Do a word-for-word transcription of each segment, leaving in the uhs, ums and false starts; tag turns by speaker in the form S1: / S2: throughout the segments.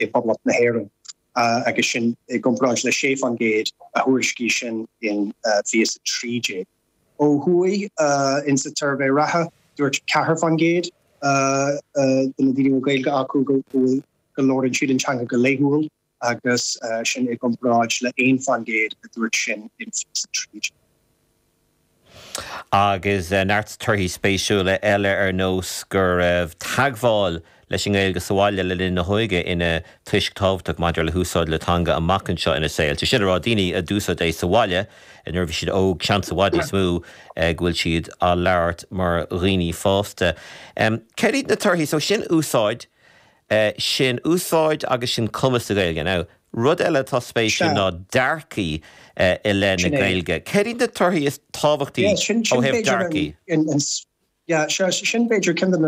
S1: i bPoblacht na hÉireann agus sin i gcomparáid le sé faoin gcéad a thuairiscigh sin in fiche a trí déag. Ó thuaidh insa tsuirbhé reatha dúirt ceathair faoin gcéad de na daoine Gaeilge acu go go labhrann siad an teanga go laethúil agus sin i gcomparáid le haon faoin gcéad a dúirt sin in fiche a trí déag.
S2: Agus neart torthaí spéisiúla eile ar nós go raibh teagmháil leis an nGaeilge sa bhaile le linn na hóige ina toisc tábhachtach maidir le húsáid na teanga amach anseo ina saol. Sé sin a rá daoine a d'úsáid é sa bhaile nuair bhí siad óg seans i bhfad níos mó go bhfuil siad á labhairt mar dhaoine fásta. Um, Céard iad na torthaí so sin úsáid uh, sin úsáid agus sin cumas na Gaeilge. Now, rud eile tá spéisiúil ná dearcaí uh, i leith na Gaeilge. Céard iad na torthaí is tábhachtaí ó thaobh dearcaí?
S1: Sin b'fhéidir ceann de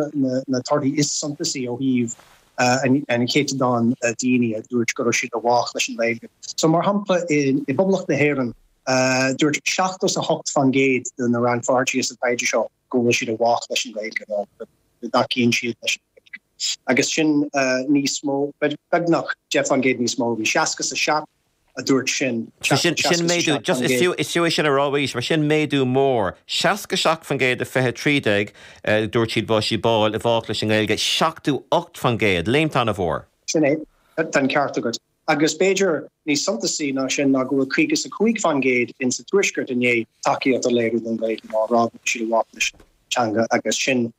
S1: na torthaí is suntasaí ó thaobh an céatadán daoine a dúirt go raibh siad i bhfách leis an Ghaeilge. So mar shampla i bPoblacht na hÉireann dúirt seachtó a hocht faoin gcéad de na rannpháirtithe sa taighde seo go bhfuil siad i bhfách leis an Ghaeilge nó go dtacaíonn siad leis an Ghaeilge. Agus sin níos mó beagnach deich faoin gcéad níos mó bhí seasca a seacht a dúirt sin.
S2: Sin méadú just is fiú is fiú sin a rá mar sin méadú mór. Seasca seacht faoin gcéad i fiche trí déag dúirt siad bá sí báil i bhfách leis an nGaeilge seachtó ocht faoin gcéad léim an-mhór.
S1: Sin é an ceart agat. Agus b'fhéidir níos suntasaí ná sin ná go bhfuil caoga a cúig faoin gcéad in sa tuaisceart i ndiaidh tacaíocht a léiriú don Ghaeilge ná rá siad i bhfách leis teanga agus sin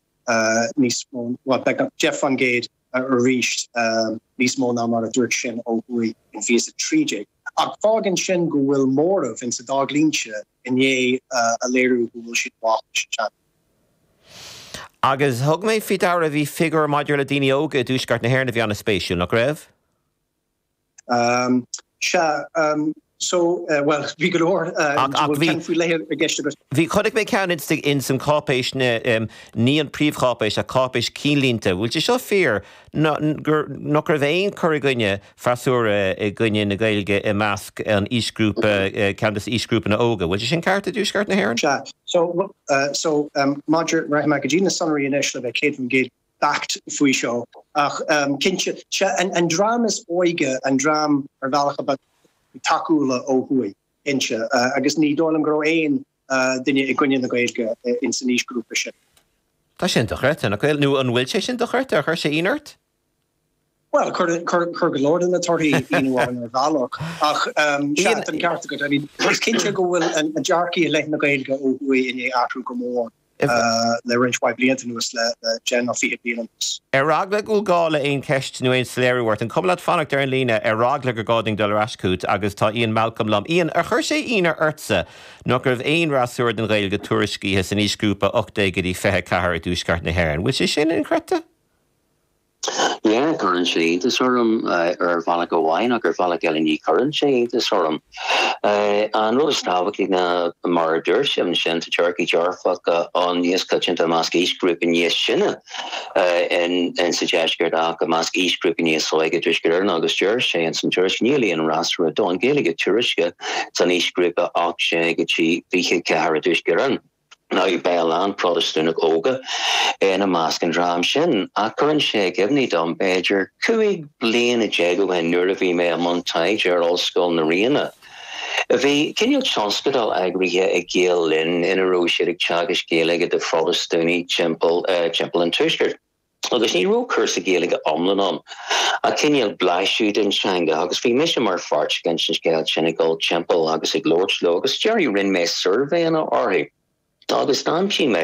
S1: níos mó deich faoin gcéad arís níos mó ná mar a dúirt sin ó thuaidh in fiche a trí déag. Ach fágann sin go bhfuil móramh in sa dá dhlínse i ndiaidh a léiriú go bhfuil siad i bhfách leis an teanga.
S2: Agus thug mé faoi deara bhí figiúr maidir le daoine óga i dtuaisceart na hÉireann a bhí an-spéisiúil nach raibh?
S1: Um, Sea um, so uh, well bhí go leor
S2: Bhí chonaic mé ceann in san cáipéis um, ní an príomhcháipéis a cáipéis cinnlínte, bhfuil sé seo fíor nach raibh aon chur i gcoinne freasúra i gcoinne na Gaeilge i measc an aoisghrúpa ceann de aoisghrúpa na óga, bhfuil sé sin ceart i dtuaisceart na hÉireann?
S1: Sea so uh, so um, maidir rachaidh mé go dtí na sonraí anois le bheith céad faoin gcéad beacht faoi seo ach um, cinnte an, an dream is óige an dream ar bhealach a ba tacúla ó thuaidh inse uh, agus ní dóigh liom go raibh aon uh, duine i gcoinne na Gaeilge uh, in san aoisghrúpa sin.
S2: Tá sin dochreidte nach bhfuil nó an bhfuil sé sin dochreidte ar chuir sé ionadh ort?
S1: Well chuir go leor de na torthaí ionadh ar bhealach ach um, an ceart agat I mean, is cinnte go bhfuil an dearcadh i leith na Gaeilge ó thuaidh i ndiaidh athrú go mór. Uh, le roinnt mhaith blianta anuas le deich nó fiche bliain anuas.
S2: Ar eagla go bhfuil gá le aon cheist nó aon soiléiriú ort, an cuma leat fanacht ar an líne ar eagla gur gá dúinn dul ar ais chugat agus tá Ian Malcolm liom. Ian ar chuir sé ionadh ortsa nach raibh aon fhreasúra den Ghaeilge tuairiscithe san aoisghrúpa ocht déag go dtí fiche ceathair i dtuaisceart na hÉireann. Bhfuil sé sin inchreidte?
S3: Yeah, cuireann sé iontas orm uh, ar bhealach amháin ach ar bhealach eile ní chuireann sé iontas orm. Uh, an rud is tábhachtaí ná mar a dúirt sé sin tá dearcadh dearfach an níos coitianta i measc aoisghrúpa níos sine uh, in, in sa deisceart ach i measc aoisghrúpa níos óige i dTuaisceart Éireann agus deir sé in san tuairisc níl aon fhreasúra don Ghaeilge tuairiscithe san aoisghrúpa ocht déag go dtí fiche ceathair i dTuaisceart Éireann. Now beidh a lán Protastúnach óga ina measc an dream sin ach cuireann sé i gcuimhne dom b'fhéidir cúig bliana déag ó shin nuair a bhí mé i mbun taighde ar Ollscoil na Ríona. Bhí cineál tionscadal eagraithe ag Gael Linn ina raibh siad ag teagasc Gaeilge do Phrotastúnaigh timpeall uh, timpeall an tuaiscirt. Agus ní raibh cúrsa Gaeilge iomlán ann ach cineál blaiseadh den teanga agus bhí mise mar pháirt den scéal sin ag dul timpeall agus ag labhairt leo agus deireadh rinne mé suirbhéanna orthu. Agus d'aimsigh mé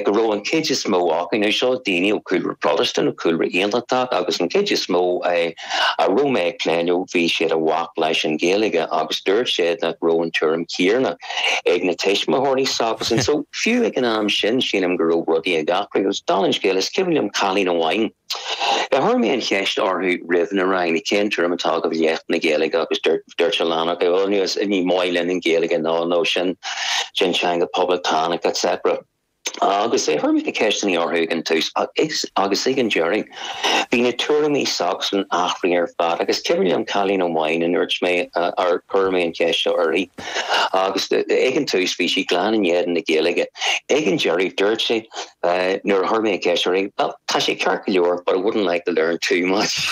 S3: go raibh an chuid is mó acu nó seo daoine ó chúlra Protastúnach ó chúlra aontachtach agus an chuid is mó a raibh mé ag plé leo bhí siad i bhfách leis an Ghaeilge agus dúirt siad nach raibh an tuairim chéanna ag na tuismitheoirí s'acusan so fiú ag an am sin sílim go raibh rudaí ag athrú agus dála an scéil is cuimhin liom cailín amháin. Chuir mé an cheist orthu roimh na ranganna cén tuairim atá agaibh i leith na Gaeilge agus dúirt a lán acu ní maith linn an Ghaeilge ná nó sin sin teanga poblachtánach etc. Agus é chuir mé ceisteanna orthu ag an tús agus ag an deireadh. Bhí na tuairimí s'acusan athraithe ar fad agus cuimhin liom cailín amháin a ndúirt mé ar chuir mé an cheist seo uirthi agus ag an tús bhí sí glan in éadan na Gaeilge. Ag an deireadh dúirt sí nuair a chuir mé an cheist uirthi, well, tá sé ceart go leor, but I wouldn't like to learn too much.